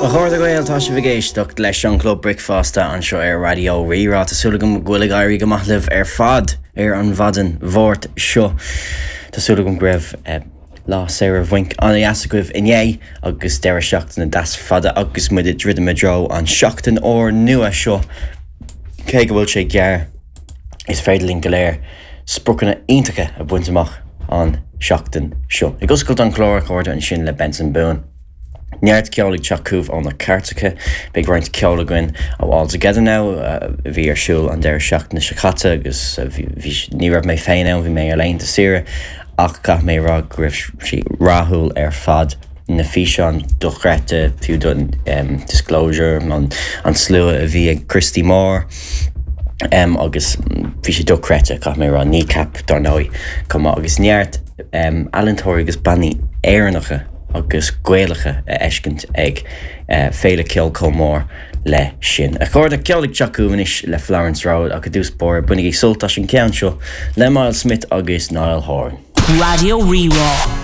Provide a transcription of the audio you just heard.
A chairde Gael, tá sibh ag éisteacht leis an Club Bricfeasta anseo ar Raidió Rí-Rá. Tá súil agam go bhfuil ag éirí go maith libh ar fad ar an mhaidin Mháirt seo. Tá súil agam go raibh lá saoire bhainc an-deas agaibh inné agus deireadh seachtaine deas fada agus muid ag druidim i dtreo an seachtain úr nua seo. Cé go bhfuil sé gearr, is féidir linn go léir spriocanna iontacha a bhaint amach an seachtain seo. Ag oscailt an chláir, a chairde, ansin le Benson Boone. Neart ceoil ag teacht chugaibh ó na cairteacha. Beidh roinnt ceoil againn ó All Together Now a bhí ar siúl an deireadh seachtaine seo caite agus bhí, ní raibh mé féin ann, bhí mé ar laethanta saoire ach caithfidh mé a rá go raibh sí rathúil ar fad. Na físeáin dochreidte, fiú don Disclosure, an slua a bhí ag Christy Moore agus bhí sé dochreidte, caithfidh mé a rá, Kneecap dar ndóigh chomh maith agus neart ealaíontóirí agus bannaí Éireannacha. agus Gaelacha a fheiscint ag féile ceoil chomh mór le sin. A chairde, ceol ag teacht chugaibh anois le Florence Road ach i dtús báire bainigí sult as an ceann seo le Myles Smith agus Niall Horan. Raidió Rí-Rá.